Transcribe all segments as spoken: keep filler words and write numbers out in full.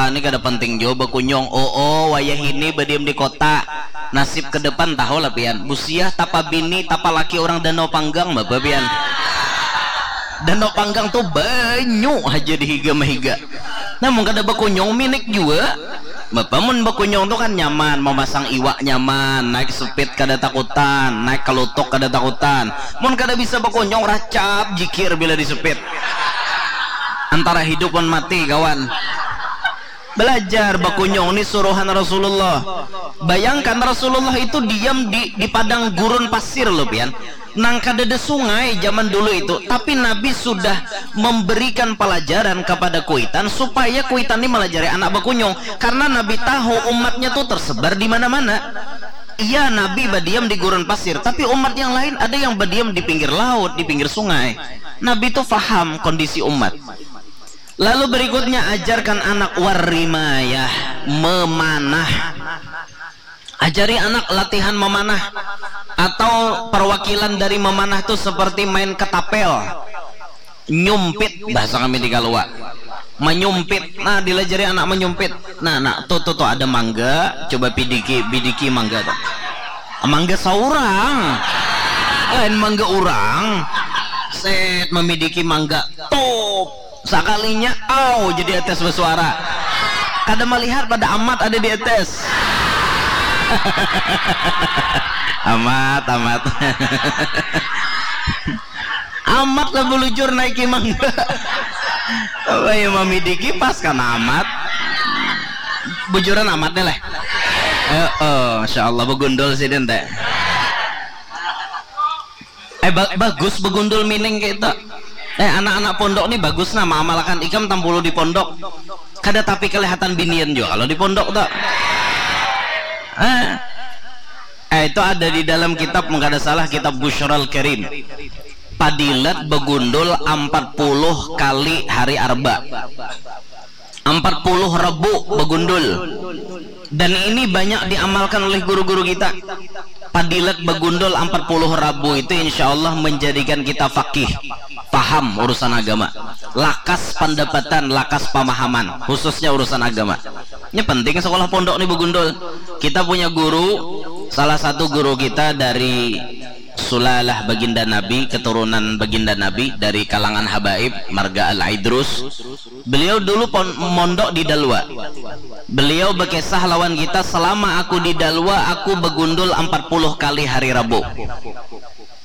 Ini kada penting jua bakunyung. Oo, wayah ini badiam di kota. Nasib ke depan tahu lah pian. Busiah tapa bini, tapa laki orang Danau Panggang, bapa pian. Danau Panggang tu banyu haja di higa mahiga. Nah, mun kada bakunyung minik jua. Bapa, mun bakunyung tu kan nyaman, mamasang iwak nyaman, naik sepit kada takutan, naik kalutuk kada takutan. Mun kada bisa bakunyung, racap jikir bila di sepit. Antara hidup wan mati, kawan. Belajar bakunyung ni suruhan Rasulullah. Bayangkan Rasulullah itu diam di di padang gurun pasir loh pian. Nang kadada sungai zaman dulu itu, tapi Nabi sudah memberikan pelajaran kepada kuitan supaya kuitan ini melajari anak bakunyung karena Nabi tahu umatnya tuh tersebar di mana-mana. Iya, Nabi badiam di gurun pasir, tapi umat yang lain ada yang badiam di pinggir laut, di pinggir sungai. Nabi tuh faham kondisi umat. Lalu berikutnya ajarkan anak warrimayah, memanah. Ajari anak latihan memanah atau perwakilan dari memanah tuh seperti main ketapel, nyumpit bahasa kami di Kalua. Menyumpit. Nah, dilajari anak menyumpit. Nah, nah, tuh tuh tuh ada mangga, coba pidiki, bidiki mangga tuh. Mangga saurang. Lain mangga urang. Set, memidiki mangga. Top. Sakalinya, au, jadi etes bersuara. Kada melihat pada amat ada di etes. Amat, amat. Amat lah belujur naiki mangga. Apa ya, mamidiki pas kan amat. Bujuran amat nih leh. Eh, oh, masya Allah, begundul sidin teh. Eh, ba- bagus begundul mining kayak itu. Eh, anak-anak pondok nih bagus nah, maamalakan ikam tampulu di pondok. Kada tapi kelihatan binian juga kalau di pondok tuh. Eh, eh, itu ada di dalam kitab, mun kada salah, kitab Busyral Karim. Padilat begundul empat puluh kali hari Arba. Empat puluh Rabu begundul. Dan ini banyak diamalkan oleh guru-guru kita. Padilat begundul empat puluh Rabu itu insya Allah menjadikan kita fakih, paham urusan agama, lakas pendapatan, lakas pemahaman, khususnya urusan agama. Ini penting sekolah pondok nih begundul. Kita punya guru, salah satu guru kita dari Sulalah Baginda Nabi, keturunan Baginda Nabi dari kalangan habaib, marga Al-Aidrus. Beliau dulu pon- mondok di Dalwa. Beliau berkisah lawan kita, selama aku di Dalwa, aku begundul empat puluh kali hari Rabu.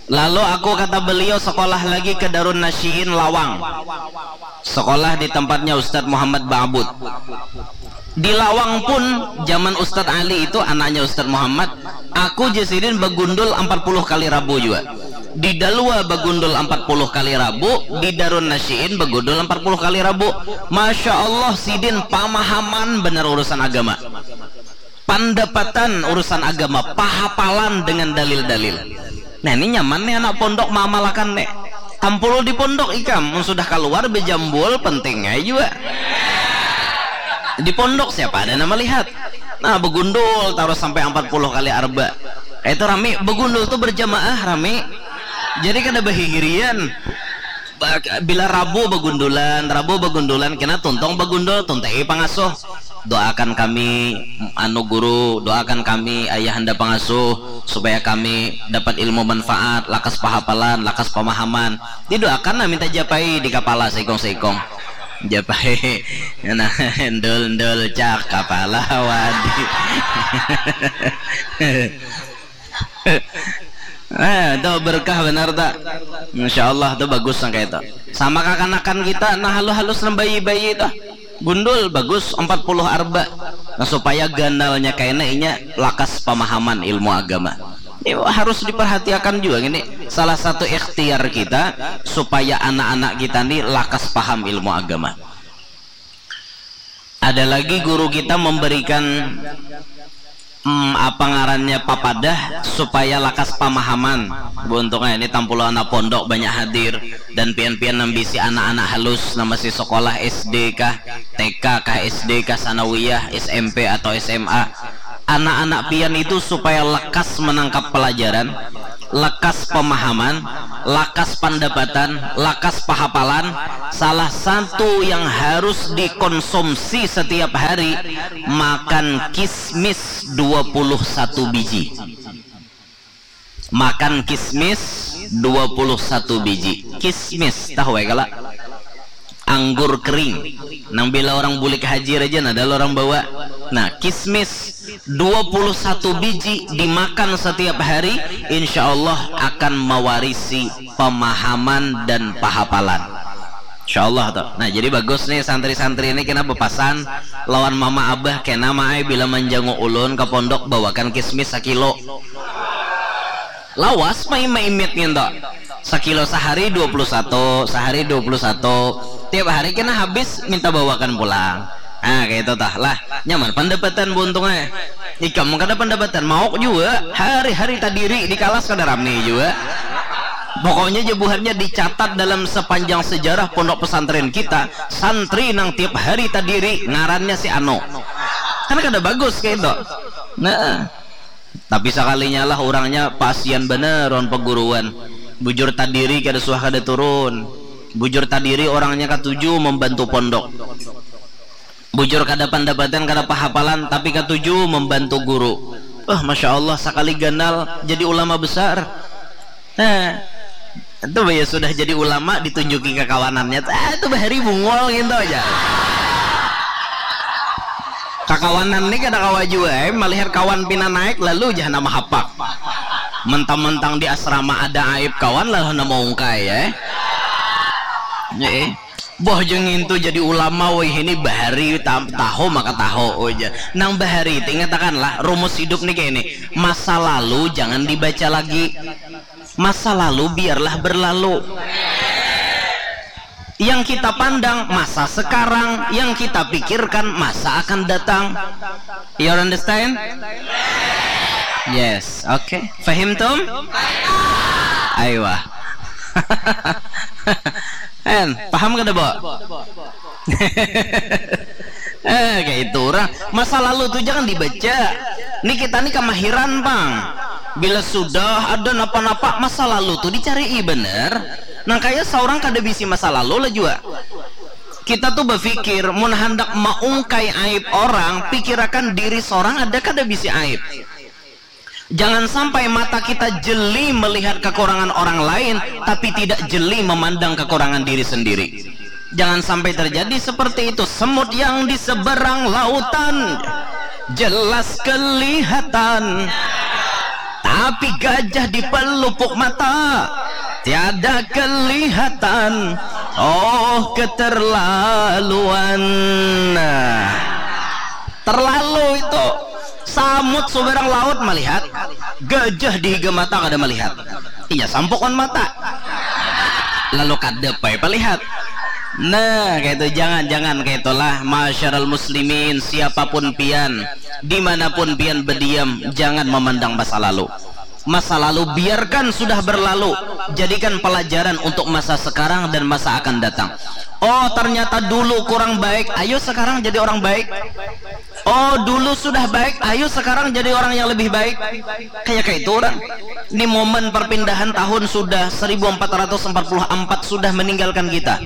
Lalu aku, kata beliau, sekolah lagi ke Darun Nasyiin Lawang. Sekolah di tempatnya Ustadz Muhammad Ba'bud. Di Lawang pun, zaman Ustadz Ali itu, anaknya Ustadz Muhammad, aku ja sidin begundul empat puluh kali Rabu juga. Di Dalwa begundul empat puluh kali Rabu, di Darun Nasyiin begundul empat puluh kali Rabu. Masya Allah, sidin pamahaman benar urusan agama. Pandapatan urusan agama, pahapalan dengan dalil-dalil. Nah, ini nyaman nih anak pondok mamalakan nih. Tampul di pondok ikam, mun sudah keluar bejambul penting aja juga. Di pondok siapa ada nama lihat. Nah, begundul terus sampai empat puluh kali arba. Itu rami, begundul tuh berjamaah rami. Jadi kada bahihirian. Ba- Bila Rabu begundulan, Rabu begundulan kena tuntung begundul, tuntai pangasuh. Doakan kami, anu guru, doakan kami ayahanda pangasuh supaya kami dapat ilmu manfaat, lakas pahapalan, lakas pamahaman. Didoakan nah minta japai di kapala seikung-seikung. Japai, nah, endul-endul cak kapala wadi. Nah, itu berkah benar tak? Insya Allah tu bagus nang kayak itu. Sama kakanakan kita, nah, halus-halus nang bayi-bayi itu. Gundul bagus empat puluh arba. Nah, supaya ganalnya kena inya lakas pemahaman ilmu agama. Ini harus diperhatikan juga gini. Salah satu ikhtiar kita supaya anak-anak kita ni lakas paham ilmu agama. Ada lagi guru kita memberikan, hmm, apa ngarannya, papadah supaya lakas pamahaman. Buntungnya ini tampulu anak pondok banyak hadir dan pian-pian nambisi anak-anak halus nang masih sekolah S D kah, T K kah, S D kah, sanawiyah, S M P atau S M A. Anak-anak pian itu supaya lekas menangkap pelajaran, Lakas pemahaman, lakas pandapatan, lakas pahapalan, salah satu yang harus dikonsumsi setiap hari, makan kismis dua puluh satu biji. Makan kismis dua puluh satu biji. Kismis, tahu ya kala? Anggur kering. Nang bila orang bulik haji raja, nah, ada orang bawa. Nah, kismis dua puluh satu biji dimakan setiap hari, insya Allah akan mewarisi pemahaman dan pahapalan. Insya Allah tuh. Nah, jadi bagus nih santri-santri ini kena bepasan lawan mama abah kena maai bila manjangu ulun ke pondok bawakan kismis sakilo. Lawas mai maimit nginto. Sakilo sehari dua puluh satu, sehari dua puluh satu. Tiap hari kena habis minta bawakan pulang. Nah, kayak itu tah lah. Nyaman pendapatan buntung eh. Ikam kada pendapatan mauk juga. Hari-hari tadiri di kalas kada ramai juga. Pokoknya jebuhannya dicatat dalam sepanjang sejarah pondok pesantren kita, santri nang tiap hari tadiri ngarannya si Ano. Kan kada bagus kayak itu. Nah, tapi sekalinya lah orangnya pasian bener on peguruan. Bujur tadiri kada suah kada turun. Bujur tadiri orangnya katuju membantu pondok. Bujur kada pendapatan kada pahapalan tapi katuju membantu guru. Wah, masya Allah, sekali ganal jadi ulama besar. Nah, itu ya sudah jadi ulama ditunjuki kekawanannya. Ah, itu bahari bungol gitu aja. Kakawanan nih kada kawa jua eh. Melihat kawan pina naik lalu jah nama hapak. Mentang-mentang di asrama ada aib kawan lah nama ungkai eh. Eh. Boh jeng itu jadi ulama woi ini bahari tahu maka tahu aja. Nang bahari itu ingatakanlah rumus hidup nih kayak ini. Masa lalu jangan dibaca lagi. Masa lalu biarlah berlalu. Yang kita pandang masa sekarang, yang kita pikirkan masa akan datang. You understand? Yes, oke. Okay. Fahimtum? Aywa. En, paham kada, Bo? Eh, kayak itu orang. Masa lalu tuh jangan dibaca. Nih kita nih kemahiran, Bang. Bila sudah ada napa-napa masa lalu tuh dicari bener. Nang kaya seorang kada bisi masa lalu lah juga. Kita tuh berpikir, mun hendak maungkai aib orang, pikirakan diri seorang ada kada bisi aib. Jangan sampai mata kita jeli melihat kekurangan orang lain, tapi tidak jeli memandang kekurangan diri sendiri. Jangan sampai terjadi seperti itu. Semut yang di seberang lautan jelas kelihatan, tapi gajah di pelupuk mata tiada kelihatan. Oh, keterlaluan. Terlalu itu. Samut subarang laut melihat, gajah di higa mata kada melihat. Iya sampukon mata. Lalu kada pai palihat. Nah, kayak itu jangan jangan kayak itulah masyarul muslimin siapapun pian dimanapun pian berdiam jangan memandang masa lalu. Masa lalu biarkan sudah berlalu, jadikan pelajaran untuk masa sekarang dan masa akan datang. Oh, ternyata dulu kurang baik, ayo sekarang jadi orang baik. Oh, dulu sudah baik, ayo sekarang jadi orang yang lebih baik. Kayak kayak itu orang. Ini momen perpindahan tahun sudah seribu empat ratus empat puluh empat sudah meninggalkan kita.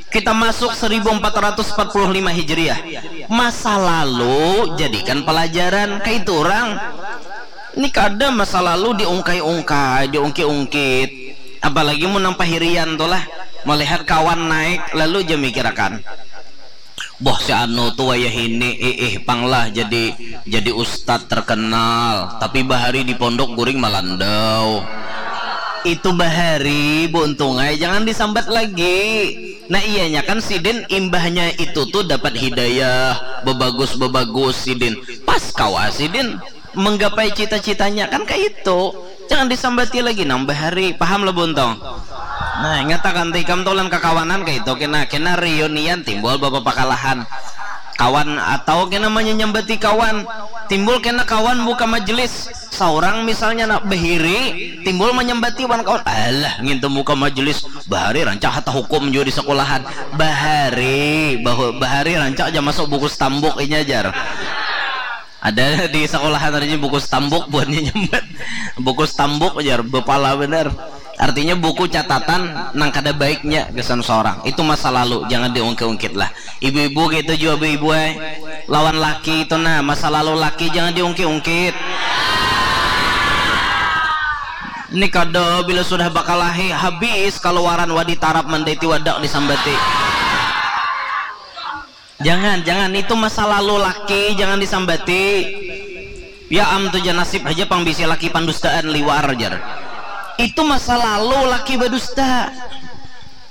Kita masuk seribu empat ratus empat puluh lima Hijriah. Masa lalu jadikan pelajaran kayak itu orang. Ini kada masa lalu diungkai-ungkai, diungkit-ungkit. Apalagi mun nang pahirian tu lah, melihat kawan naik lalu ja mikirakan. Boh si anu tu wayah ini, iih pang lah jadi jadi ustad terkenal, tapi bahari di pondok guring malandau. Itu bahari, Bu Untung ai, jangan disambat lagi. Nah, iyanya kan sidin imbahnya itu tu dapat hidayah, bebagus-bebagus sidin. Pas kawa sidin menggapai cita-citanya kan kayak itu. Jangan disambati lagi nang bahari, paham lah buntong. Nah, ingatakan tikam tolan kakawanan kayak itu kena kena reunian timbul bapa pakalahan kawan atau kena menyambati kawan timbul kena kawan buka majelis seorang misalnya nak behiri timbul menyambati wan kawan alah ngintu muka majelis bahari rancak hata hukum juga di sekolahan bahari bahari rancak aja masuk buku stambuk inya jar Ada di sekolahan ada buku stambuk buatnya nyambat. Buku stambuk jar, bepala benar. Artinya buku catatan nang kada baiknya gasan seorang. Itu masa lalu, jangan diungkit-ungkit lah. Ibu-ibu gitu jua ibu-ibu eh. Lawan laki itu nah, masa lalu laki jangan diungkit-ungkit. Ini kada bila sudah bakalahi habis kaluaran wadi tarap mandaiti wadak disambati. Jangan, jangan. Itu masa lalu laki, jangan disambati. Ya am tu jar nasib haja pang bisi laki pandustaan liwar jar. Itu masa lalu laki badusta.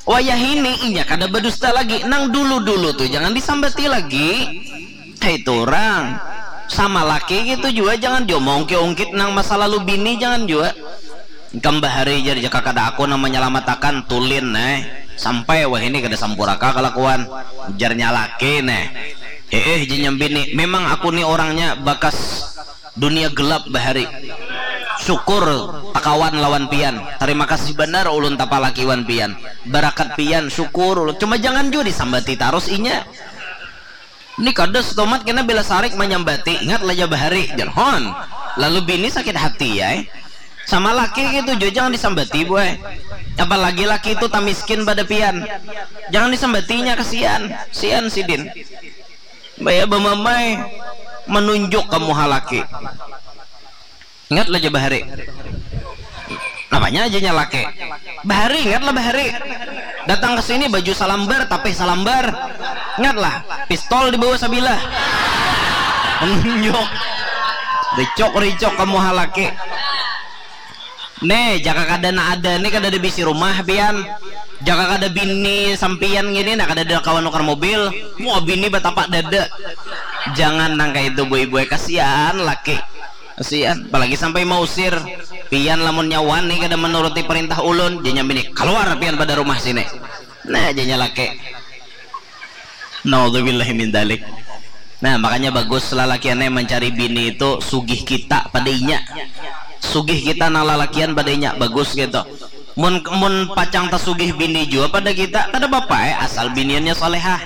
Wayah ini inya kada badusta lagi. Nang dulu-dulu tu jangan disambati lagi. Kaitu urang. Sama laki gitu jua jangan diomongki-ungkit nang masa lalu bini jangan jua. Ikam bahari jar jaka kada aku nang manyalamatakan tulin neh. Sampai wahini kada sampuraka kalakuan. Ujarnya laki neh. Heeh jar nyambini, memang aku ni orangnya bakas dunia gelap bahari. Syukur takawan lawan pian. Tarima kasih banar ulun tapalaki wan pian. Barakat pian syukur ulun. Cuma jangan jua disambati tarus inya. Ni kada setomat kena bila sarik manyambati, ingat lah ja bahari, jar hon. Lalu bini sakit hati ai. Sama laki gitu jua jangan disambati buai. Apalagi laki itu tamiskin pada pian. Jangan disambatinya kasian, sian sidin. Baya bamamai menunjuk ke muha laki. Ingat lah ja bahari. Apanya aja nyalake. Bahari ingat lah bahari. Datang ke sini baju salambar tapi salambar. Ingat lah pistol di bawah sabilah. Menunjuk. Ricok ricok kamu halaki. Nih jaka kada na ada nih kada ada bisi rumah pian. Jaka kada bini sampian gini nah kada ada kawan nukar mobil. Wah bini batapak dada. Jangan nang kayak itu boy-boy kasihan laki. Kasian, apalagi sampai mausir. Pian lamun nyawan nih kada menuruti perintah ulun, janya bini, keluar pian pada rumah sini. Nah, janya laki. Naudzubillahi min dalik. Nah, makanya bagus lalakian yang mencari bini itu sugih kita pada inya. Sugih kita nang lalakian pada inya, bagus gitu. Mun mun pacang tasugih bini jua pada kita, kada apa-apa eh, asal biniannya solehah.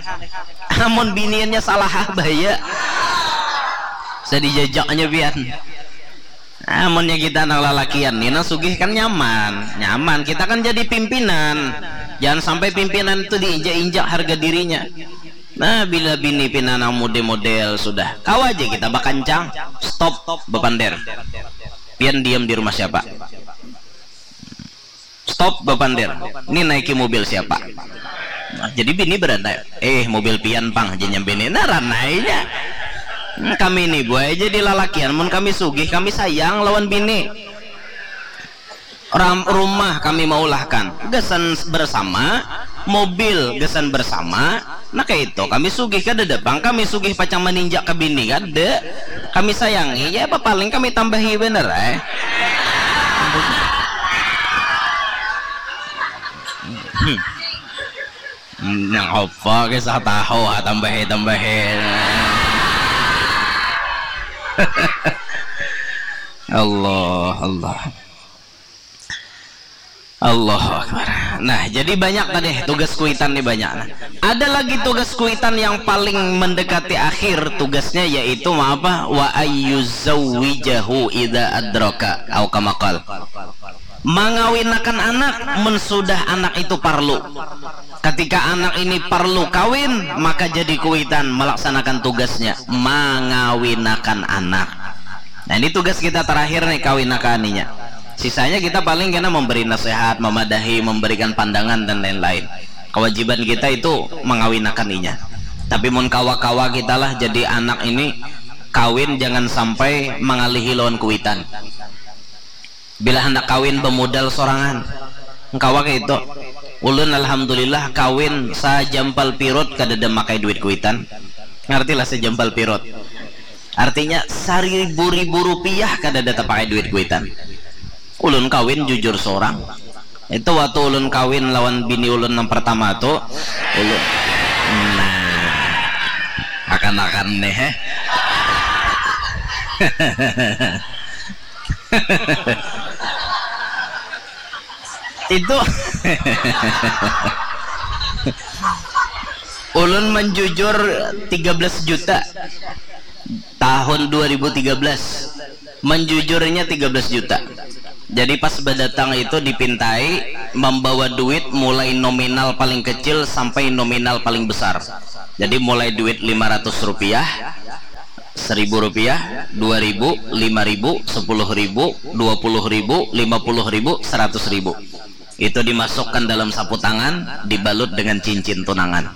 Amun biniannya salahah bahaya. Saya dijajaknya pian. Amunnya kita anak lalakian nih, nah sugih kan nyaman, nyaman. Kita kan jadi pimpinan. Jangan sampai pimpinan itu diinjak-injak harga dirinya. Nah, bila bini pina nang model-model sudah, kawa aja kita bakancang, stop, bapander. Pian diam di rumah siapa? Stop bapander. Ni naiki mobil siapa? Nah, jadi bini berandai. Eh, mobil pian pang, jenya bini. Nah, ranainya. Hmm, kami ni buai jadi lalakian mun kami sugih, kami sayang lawan bini. Ram, rumah kami maulahkan. Gasan bersama, mobil gasan bersama, Nah kaitu kami sugih kadada pang kami sugih pacang maninjak ka bini kada kami sayangi ya apa paling kami tambahi banar ai. Nang apa kisah tahu ha tambahi tambahi. Allah Allah. Allahu Akbar. Nah, jadi banyak tadi tugas kuitan nih banyak. Nah, ada lagi tugas kuitan yang paling mendekati akhir tugasnya yaitu apa? Wa ayyuzawwijahu idza adraka au kama qal. Mangawinakan anak mun sudah anak itu parlu. Ketika anak ini parlu kawin, maka jadi kuitan melaksanakan tugasnya mangawinakan anak. Nah, ini tugas kita terakhir nih kawinakan inya. Sisanya kita paling kena memberi nasihat, memadahi, memberikan pandangan dan lain-lain. Kewajiban kita itu mengawinakan inya. Tapi mun kawa-kawa kita lah jadi anak ini kawin jangan sampai mengalihi lawan kuitan. Bila handak kawin bemodal sorangan. Kawa kaitu. Ulun alhamdulillah kawin sajampal pirut kadada makai duit kuitan. Ngartilah sajampal pirut. Artinya saribu-ribu rupiah kadada tapakai duit kuitan. Ulun kawin jujur sorang. Itu waktu ulun kawin lawan bini ulun nang pertama tu, ulun nah akan-akan nih eh. Itu ulun menjujur tiga belas juta. Tahun dua ribu tiga belas, menjujurnya tiga belas juta. Jadi pas badatang itu dipintai membawa duit mulai nominal paling kecil sampai nominal paling besar. Jadi mulai duit lima ratus rupiah, seribu rupiah, dua ribu, lima ribu, sepuluh ribu, dua puluh ribu, lima puluh ribu, seratus ribu. Itu dimasukkan dalam sapu tangan, dibalut dengan cincin tunangan.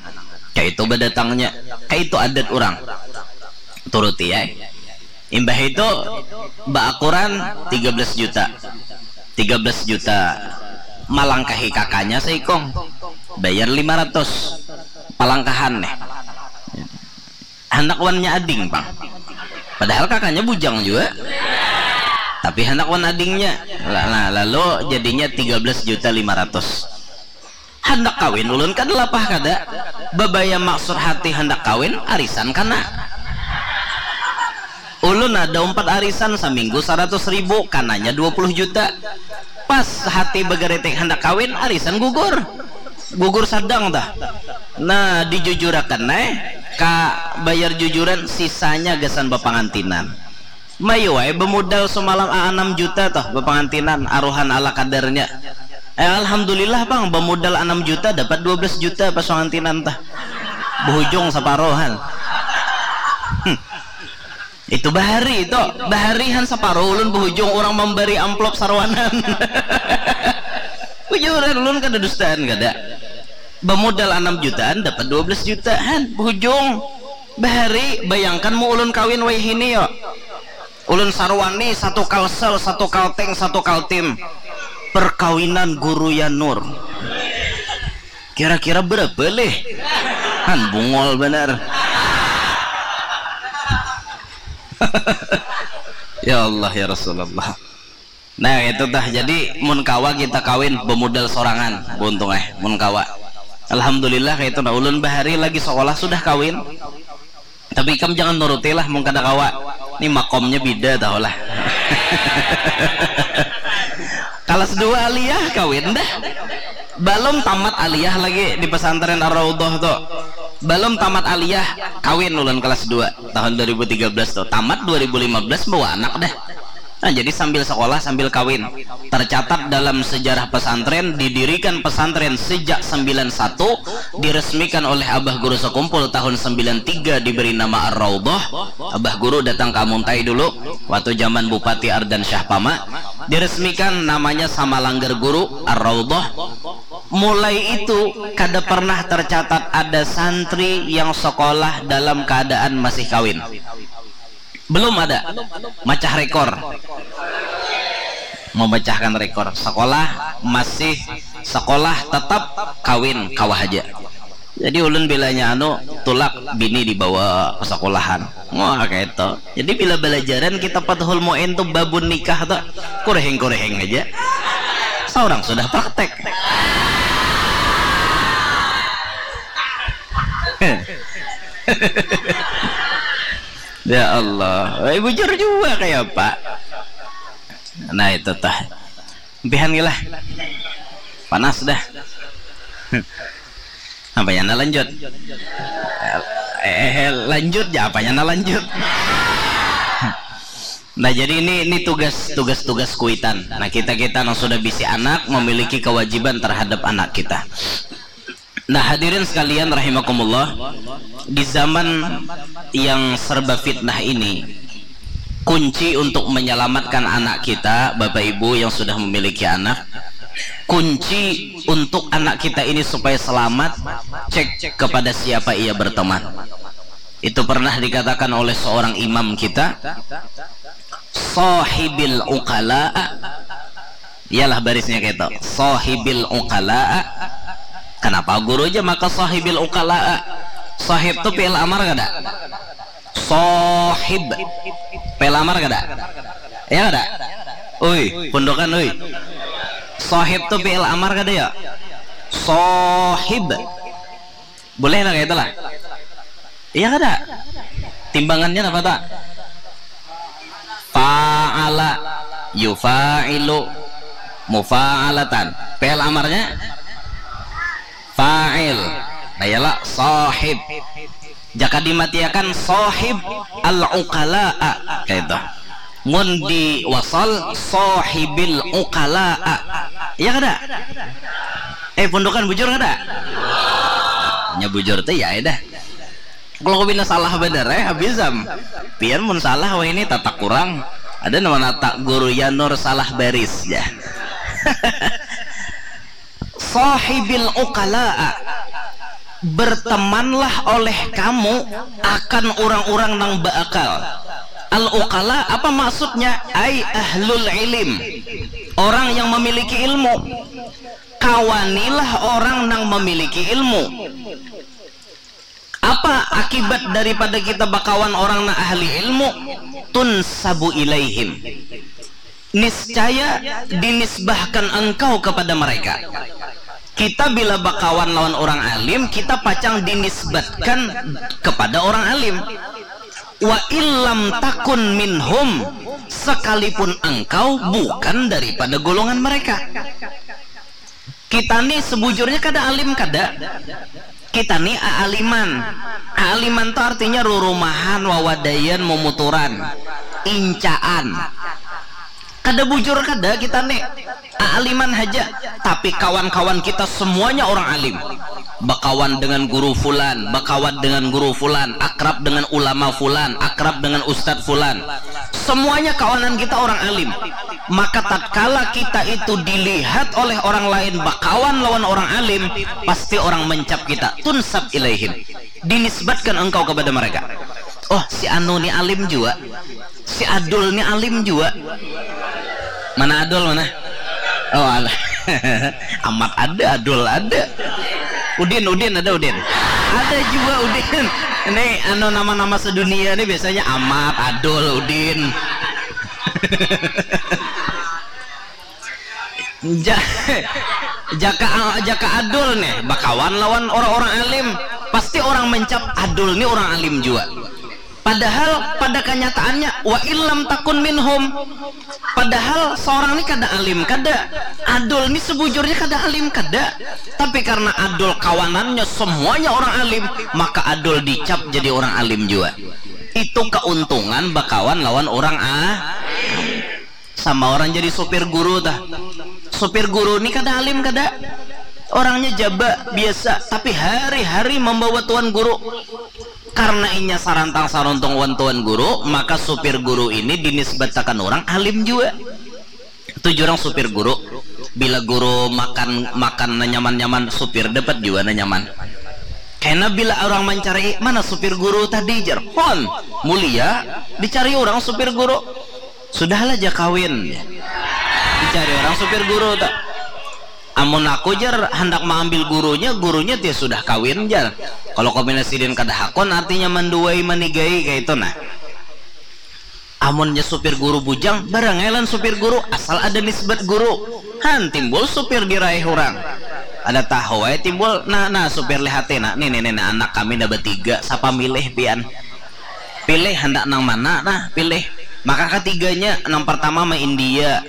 Kayak itu badatangnya, kayak itu adat orang. Turuti ya. Imbah itu baakuran tiga belas juta. Tiga belas juta malangkahi kakaknya seikong. Bayar lima ratus. Palangkahan nih. Handak wannya ading pang. Padahal kakaknya bujang juga. Tapi handak wan adingnya. La- Nah, lalu jadinya tiga belas juta lima ratus. Handak kawin ulun kada lapah kada. Babaya maksud hati handak kawin, arisan kana. Ulun ada umpat arisan saminggu saratus ribu, kananya dua puluh juta. Pas hati bagaritik handak kawin, arisan gugur. Gugur sadang tah. Nah, dijujurakan ai, ka bayar jujuran, sisanya gasan bapangantinan. Mayu ai bamudal samalam anam juta toh bapangantinan, aruhan ala kadarnya. Eh, alhamdulillah pang, bamudal anam juta dapat dua belas juta pas pangantinan tah. Bahujung saparuhan. Hmm. Itu bahari itu, bahari han saparuh ulun bahujung urang mambari amplop saruanan. Ujuran ulun kada dustaan kada. Bamudal anam jutaan dapat dua belas jutaan bahujung. Bahari, bayangkan mu ulun kawin wayahini yo. Ulun saruani satu kalsel, satu kalteng, satu kaltim. Perkawinan Guru Yanur. Kira-kira berapa leh? Han bungol banar. Ya Allah ya Rasulullah. Nah, itu tah. Jadi mun kawa kita kawin bamudal sorangan, buntung eh mun kawa. Alhamdulillah kayak itu. Nah, ulun bahari lagi sekolah sudah kawin. Tapi ikam jangan nuruti lah mun kada kawa. Ni makomnya bida tahu lah. Kelas dua aliyah kawin dah. Belum tamat aliyah lagi di pesantren Ar-Raudhah tu. Belum tamat aliyah kawin ulun kelas dua tahun dua ribu tiga belas tu. Tamat dua ribu lima belas bawa anak dah. Nah, jadi sambil sekolah sambil kawin. Tercatat dalam sejarah pesantren, didirikan pesantren sejak sembilan satu, diresmikan oleh Abah Guru Sekumpul tahun sembilan tiga, diberi nama Ar-Raudhah. Abah Guru datang ke Amuntai dulu waktu zaman Bupati Ardan Syahpama. Diresmikan namanya sama langgar guru, Ar-Raudhah. Mulai itu kada pernah tercatat ada santri yang sekolah dalam keadaan masih kawin. Belum ada. Macah rekor. Memecahkan rekor. Sekolah masih sekolah tetap kawin kawa haja. Jadi ulun bilanya anu tulak bini dibawa ke sekolahan. Wah, kayak itu. Jadi bila belajaran kita Fathul Muin tuh babun nikah tuh kureheng-kureheng aja. Seorang sudah praktek. Ya Allah, eh, bujur juga kayak apa? Nah, itu tah. Impihan gila. Panas dah. Apa yang lanjut? Eh, eh, lanjut ya, apa yang lanjut? Nah, jadi ini ini tugas tugas tugas kuitan. Nah, kita kita yang sudah bisi anak memiliki kewajiban terhadap anak kita. Nah, hadirin sekalian rahimakumullah, di zaman yang serba fitnah ini, kunci untuk menyelamatkan anak kita, Bapak Ibu yang sudah memiliki anak, kunci untuk anak kita ini supaya selamat, cek kepada siapa ia berteman. Itu pernah dikatakan oleh seorang imam kita, "Sahibil uqala." Iyalah barisnya gitu. "Sahibil uqala." Kenapa guru aja maka sahibil uqala? Sahib tu fi'il amar kada? Sahib. Fi'il amar kada? Ya kada? Ui, pundukan ui. Sahib tu fi'il amar kada ya? Sahib. Boleh lah kayak itulah. Iya kada? Timbangannya apa tak? Fa'ala, yufa'ilu, mufa'alatan. Fi'il amarnya fa'il. Nah, ialah sahib. Jaka dimatiakan sahib al-uqala'a, kaitu. Mun di wasal, sahibil uqala'a. Iya kada? Eh, pundukan, bujur kada? Nya bujur tu ya, ya dah. Kalau aku pina salah banar, eh, habis am. Pian mun salah, wah, ini tatak kurang. Ada nama nata guru Yanur salah baris, ya. Sahibil uqala'a, bertemanlah oleh kamu akan orang-orang nang beakal. Al-uqala apa maksudnya? Ai ahlul ilim, orang yang memiliki ilmu. Kawanilah orang nang memiliki ilmu. Apa akibat daripada kita bakawan orang nang ahli ilmu? Tunsabu ilaihim, niscaya dinisbahkan engkau kepada mereka. Kita bila bakawan lawan orang alim, kita pacang dinisbatkan kepada orang alim. Wa illam takun minhum, sekalipun engkau bukan daripada golongan mereka. Kita ni sebujurnya kada alim, kada. Kita ni aaliman. Aaliman tu artinya rurumahan, wawadaian, mumuturan, incaan. Kada bujur kada kita ni. Aaliman haja. Tapi kawan-kawan kita semuanya orang alim. Bakawan dengan guru fulan, bakawan dengan guru fulan, akrab dengan ulama fulan, akrab dengan ustadz fulan. Semuanya kawanan kita orang alim. Maka tatkala kita itu dilihat oleh orang lain bakawan lawan orang alim, pasti orang mencap kita, tunsab ilaihim, dinisbatkan engkau kepada mereka. Oh, si anu ni alim jua, si Adul ni alim jua. Mana Adul, mana? Oh, alah. Amat ada, Adul ada. Udin, Udin ada, Udin. Ada jua Udin. Ini anu nama-nama sedunia ni biasanya Amat, Adul, Udin. Ja-, jaka jaka Adul nih bakawan lawan orang-orang alim, pasti orang mencap Adul nih orang alim jua. Padahal pada kenyataannya, wa illam takun minhum. Padahal seorang ni kada alim kada, Adul ni sebujurnya kada alim kada. Tapi karena Adul kawanannya semuanya orang alim, maka Adul dicap jadi orang alim jua. Itu keuntungan bakawan lawan orang a. Sama orang jadi supir guru tah. Supir guru ni kada alim kada. Orangnya jaba biasa, tapi hari-hari membawa tuan guru. Karena inya sarantang saruntung wan tuan guru, maka supir guru ini dinisbatakan orang alim jua. Tuju orang supir guru. Bila guru makan makan nyaman-nyaman, supir dapat jua nyaman. Karena bila orang mencari mana supir guru tadi, jar, hon, mulia, dicari orang supir guru. Sudahlah ja kawin. Dicari orang supir guru tak. Amun aku, jar, handak maambil gurunya, gurunya tia sudah kawin, jar. Kalau kombinasi din kada hakon, artinya manduai manigai kayak itu nah. Amunnya supir guru bujang, barangailan supir guru, asal ada nisbat guru. Han, timbul supir diraih orang. Ada tahu wae timbul, nah, nah, supir lihati, nah, nih, nih, nih, nah, anak kami dah bertiga, siapa milih pian? Pilih handak nang mana nah, pilih. Maka ketiganya, nang pertama ma India,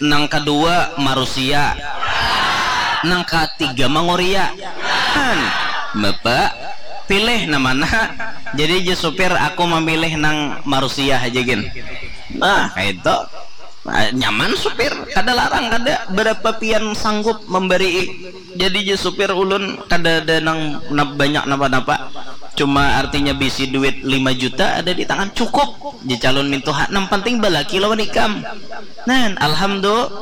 nang kedua ma Rusia, nang ketiga ma Ngoria. Han, Bapak, pilih nang mana? Jadi je supir, aku memilih nang ma Rusia aja gin. Nah, itu. Nyaman supir, kada larang, kada berapa pian sanggup memberi. Jadi je supir ulun kada ada nang banyak napa-napa, cuma artinya bisi duit lima juta ada di tangan, cukup je calon mintuha, nang penting balaki lawan ikam. Nah, alhamdulillah.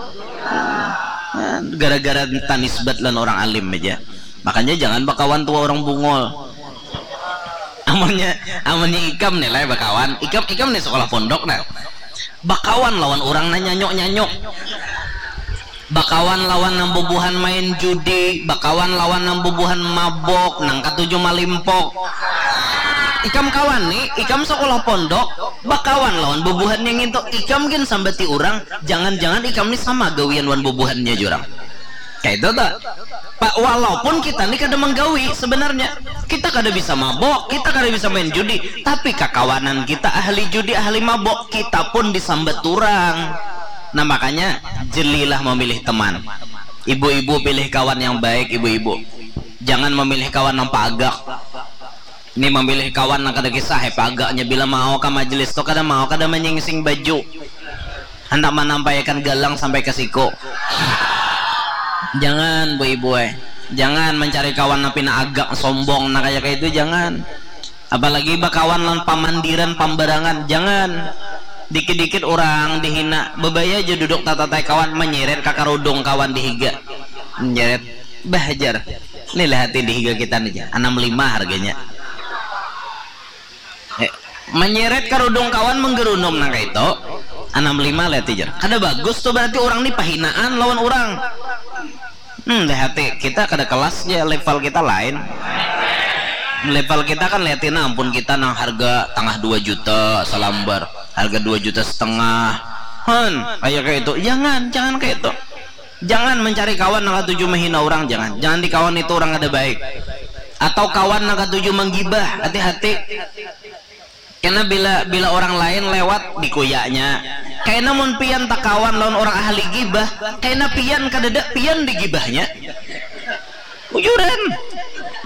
Nah, gara-gara tanisbat lan orang alim aja, makanya jangan bakawan tua orang bungol. Amunnya, amunnya ikam nih lah bakawan, ikam ikam nih sekolah pondok nah, bakawan lawan orang nang nyanyuk-nyanyuk, bakawan lawan nang bubuhan main judi, bakawan lawan nang bubuhan mabok, nang katuju malimpok. Ikam kawan nih, ikam sekolah pondok, bakawan lawan bubuhan yang itu, ikam gin sambati orang, jangan-jangan ikam nih sama gawian wan bubuhannya jurang. Kayak itu tuh. Pak, walaupun kita nih kada menggawi sebenarnya, kita kada bisa mabok, kita kada bisa main judi, tapi kakawanan kita ahli judi, ahli mabok, kita pun disambat turang. Nah, makanya jelilah memilih teman. Ibu-ibu, pilih kawan yang baik, ibu-ibu. Jangan memilih kawan yang pagak. Ini mamilih kawan nang kada kisah, hepa agaknya bila mau ka majelis tu kada mau kada manyingsing baju, handak manampaiakan galang sampai ka siku. Jangan bu ibu ai, jangan mancari kawan nang pina agak sombong nang kaya kaitu, jangan. Apalagi bakawan lawan pamandiran pambarangan, jangan. Dikit-dikit urang dihina, bebaya ja duduk tatatai kawan, manyeret ka karudung kawan di higa. Manyeret, bah jar, ni lihati di higa kita ni jar, anam lima harganya. Eh, manyeret karudung kawan menggerunum nang kaitu, anam lima lihati jar. Kada bagus tu, berarti urang ni pahinaan lawan urang. Hmm, lihati, kita kada kelas ja, level kita lain. Level kita kan lihati nah, ampun kita nang harga tangah dua juta salambar, harga dua juta setengah. Han, kaya kaitu. Jangan, jangan kaitu. Jangan mencari kawan nang katuju menghina orang, jangan. Jangan di kawan itu orang kada baik. Atau kawan nang katuju menggibah, hati-hati. Kena bila bila orang lain lewat dikuyanya. Kaina mun pian takawan lawan orang ahli gibah, kaina pian kadada pian digibahnya. Bujuran.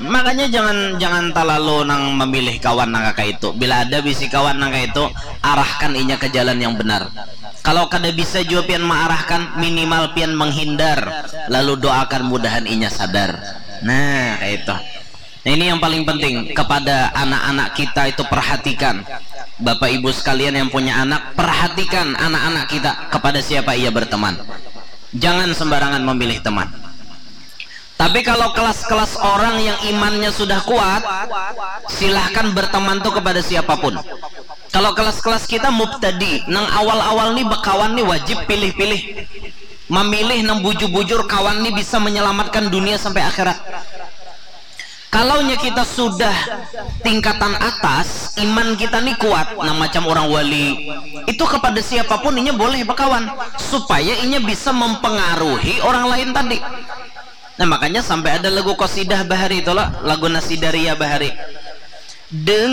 Makanya jangan jangan talalu nang mamilih kawan nang kaya itu. Bila ada bisi kawan nang kaya itu, arahkan inya ke jalan yang benar. Kalau kada bisa jua pian maarahkan, minimal pian menghindar, lalu doakan mudahan inya sadar. Nah, kaya itu. Nah, ini yang paling penting kepada anak-anak kita itu, perhatikan. Bapak ibu sekalian yang punya anak, perhatikan anak-anak kita kepada siapa ia berteman. Jangan sembarangan memilih teman. Tapi kalau kelas-kelas orang yang imannya sudah kuat, silahkan berteman tuh kepada siapapun. Kalau kelas-kelas kita mubtadi, nang awal-awal nih bakawan nih wajib pilih-pilih. Memilih nang bujur-bujur kawan nih bisa menyelamatkan dunia sampai akhirat. Kalaunya kita sudah tingkatan atas, iman kita nih kuat, nah macam orang wali, itu kepada siapapun inya boleh bakawan, supaya inya bisa mempengaruhi orang lain tadi. Nah, makanya sampai ada lagu qasidah bahari itu lah, lagu nasidaria bahari. Deng